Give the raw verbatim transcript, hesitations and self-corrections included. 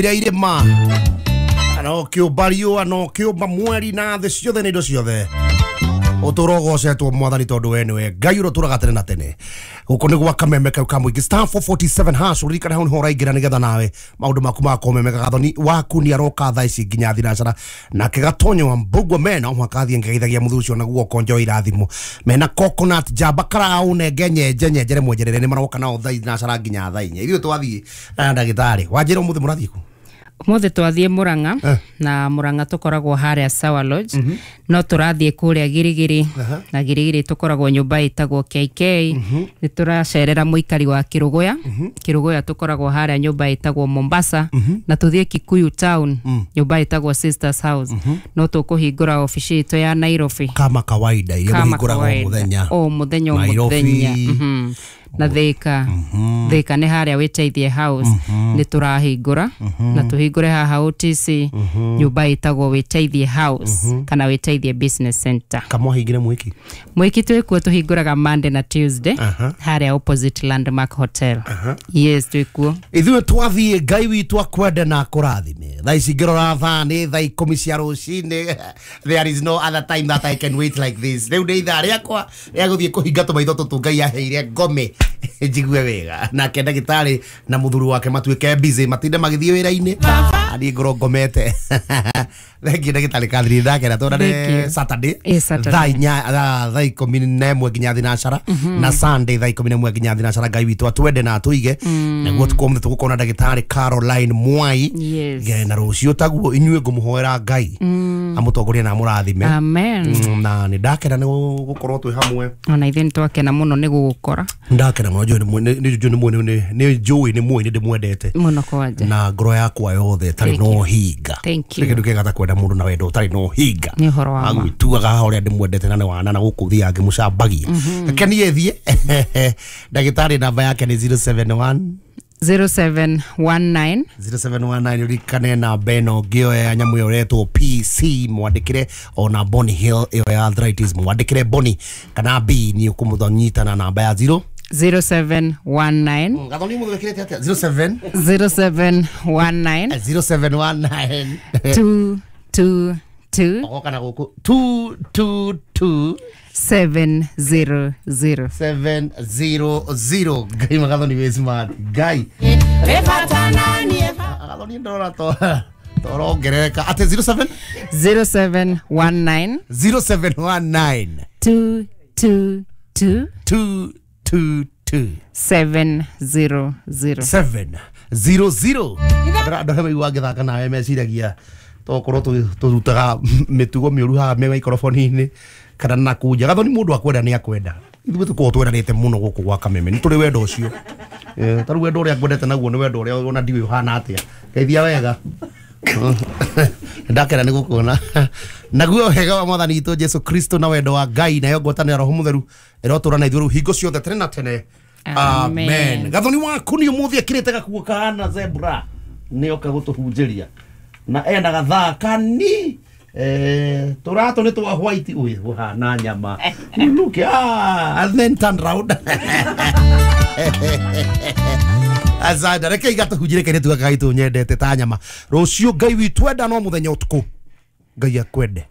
Iria irĩma na ũkĩũmba riũa na ũkĩũmba mweri na thĩ ciothe na indo ciothe. Ũtũrogocetwo Mwathani tondũ we nĩwe Ngai ũrĩa ũtũraga tene na tene. Gũkũ nĩ gwa kameme kau ka mũingĩ star four forty-seven hash. Ũririkane hau nĩho ũraingĩra nĩgetha nawe maũndũ maku magakorwo me mega. Gathoni waku nĩ aroka thaa ici nginya thinacara, nake Gatonyo wa Mbugua mena o mũhaka athiĩ ngeithagia mũthuri ũcio na guoko njoe irathimo mena coconut jamba karau nenge nyenje nyenjere mwenjerere nĩ maroka nao thaa thinacara nginya thaa inya. Ithuĩ twathiĩ na ndagĩtarĩ wanjĩra ũmũthĩ mũrathiĩ kũ? Umuthi twathie Murang'a Eh. na Murang'a tukoragwo haria Sawa Lodge, mm -hmm. no turathie kuria Girigiri. uh -huh. Na Girigiri tukoragwo nyumba itagwo K K. mm -hmm. Ni turacerera muikari wa Kiruguya. mm -hmm. Kiruguya tukoragwo haria nyumba itagwo Mombasa. mm -hmm. Na tuthie Kikuyu town. mm -hmm. Nyumba itagwo Sisters House. mm -hmm. No tukuhingura ofici itu ya Nairobi kama kawaida iria muhinguraga o muthenya o muthenya o muthenya. mm -hmm. Na Thika. mm -hmm. Thika nĩ harĩa Wĩteithie House. mm -hmm. Nĩ tũrahingũra. mm -hmm. Na tũhingũre haha O T C. mm -hmm. Nyũmba ĩtagwo Wĩteithie House. mm -hmm. Kana Wĩteithie Business Center. Kamwahingire mwiki mwiki twĩkuo tũhingũraga Monday na Tuesday. uh -huh. Harĩa opposite Landmark Hotel. uh -huh. Yes, twĩkuo ithuĩ twathiĩ. Ngai witũ akwende na akũrathime. Thaa ici ngĩrora thaa nĩ thaa ikũmi cia rũcinĩ. There is no other time that I can wait like this. Rĩu nĩ ithaa rĩakwa rĩa gũthiĩ kũhinga tũmaitho tũtũ Ngai aheire ngome njigue wega. Nake ndagĩtarĩ na mũthuri wake matuĩke busy matinde magĩthiĩ wĩra-inĩ, niĩ ngorwo ngomete. Thank you ndagĩtarĩ Catherine, ndakena tuonane Saturday thaa inya thaa ikũmi na ĩmwe nginya thinacara, na Sunday thaa ikũmi na ĩmwe nginya thinacara. Ngai witũ atwende na atũige. Naguo ũtukũ ũmũthĩ tũgũkorwo na ndagĩtarĩ Caroline Mwai. Na rũciũ taguo inyuĩ ngũmũhoera Ngai amũtongorie na amũrathime. Amen. Na nĩ ndakena nĩ gũkorwo twĩ hamwe. Ona ithuĩ nĩ twakena mũno nĩ gũgũkora. Ndakena mũno, nĩ njũĩ nĩ mũĩ nĩ ndĩmwendete mũno kwanja na ngoro yakwa yothe ĩtarĩ na ũhinga. Kĩndũ kĩega ta kwenda mũndũ na wendo ũtarĩ na ũhinga. Nĩ ũhoro wa ma. Agwĩtuaga haha ũrĩa ndĩmwendete na nĩ wana na gũkũ thiaga ngĩmũcambagia. Reke niĩ thiĩ. Ndagĩtarĩ namba yake nĩ zero seven one zero seven one nine zero seven one nine. Ũririkane namba ĩno ngĩoya ya nyamũ ĩyo ĩretwo P C, mwandĩkĩre ona Bonny Hill ĩyo ya arthritis, mwandĩkĩre Bonny kana B nĩ ũkũmũnyita na namba ya zero zero seven one nine. Gathoni mũthĩ wĩkĩrĩte atĩa? zero seven zero seven one nine zero seven one nine two two two ogoka na gũkũ two two two seven zero zero seven zero zero. Ngai Magathoni wĩ smart. Ngai Gathoni ndorora to torongerereka atĩ zero seven zero seven one nine zero seven one nine two two two two two two seven zero zero seven zero zero. Andũ arĩa maiguaga ngĩthaka nawe meciragia tokorwo tũrutaga mĩtugo mĩũru haha me maikoroboni-inĩ kana na kũnja. Gathoni mũndũ akwenda nĩ akwenda. Ithuĩ tũkoragwo twendanĩte mũno gũkũ gwa Kameme, nĩ tũrĩ wendo ũcio. Ta rĩu wendo ũrĩa ngwendete naguo nĩ wendo ũrĩa ona ndiũĩ ũhana atĩa. Ngeithia wega. Ndakena nĩ gũkuona. Naguo wega wa Mwathani witũ Jesu Kristo na wendo wa Ngai nayo ngwatanĩro ya Roho Mũtheru ĩrotũra na ithuĩ rĩu hingo ciothe tene na tene. Amen. Gathoni waku nĩ ũmũthĩ ekĩrĩte gakuo kahana zebra nĩ oka gũtũhunjĩria na ena gathaa kani eh tũratũ nĩ twa white ũyũ ũhana nyama. Look, ah, and then turn round. Azada reke igatũhunjĩrie kairĩtu gaka gaitũ nyendete ta nyama. Rũciũ Ngai witũ enda no mũthenya ũtukũ. Ngai akwende.